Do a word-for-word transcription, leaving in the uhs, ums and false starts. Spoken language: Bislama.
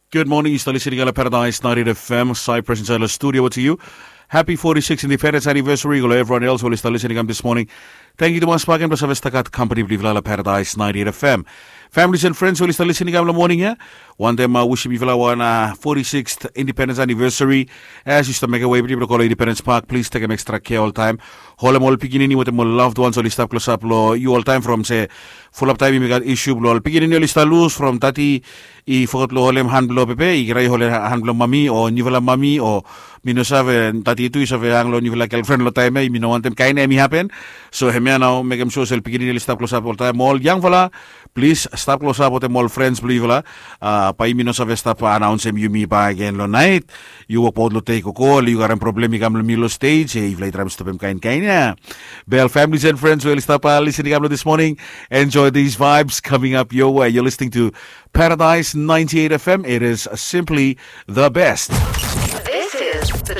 Good morning, yu stap listening long Paradise ninety-eight F M, Cyprus inside the studio to you. Happy forty-sixth independence anniversary long everyone else who is listening this morning. Thank you tumas bakegen blong save stagat company blong yufala long Paradise ninety-eight F M. Families and friends who is listening long morning ya. Wantem uh, wishim yufala wan uh, forty-sixth independence anniversary. As yu stap mekem wei blong go long Independence Park, please tekem extra care oltaem. Holem ol pikinini wetem ol loved ones oli stap klosap long yu oltaem from se fulap taem yumi gat isu blong ol pikinini oli stap lus from tati i foget blong holem han blong pepe i rai holem han blong mami o niufala mami o mi no save tati tu i save hang long niufala gelfren long taem ya mi no wantem kaen ya mi hapen. So hemia nao mekem sua se ol pikinini oli stap klosap oltaem ol yangfala, plis stap klosap wetem ol frens blong yufala. Bae yumi no save stap anaonsem yumi bakegen long naet. Yu wokbaot long tei koko oli yu garem problem i kam long mil long stej e yufala i traem stopem kaen kaen ya. Bel families and friends we oli stap listening kam long this morning. Enjoy these vibes coming up your way. You're listening to Paradise ninety-eight F M. It is simply the best. This is the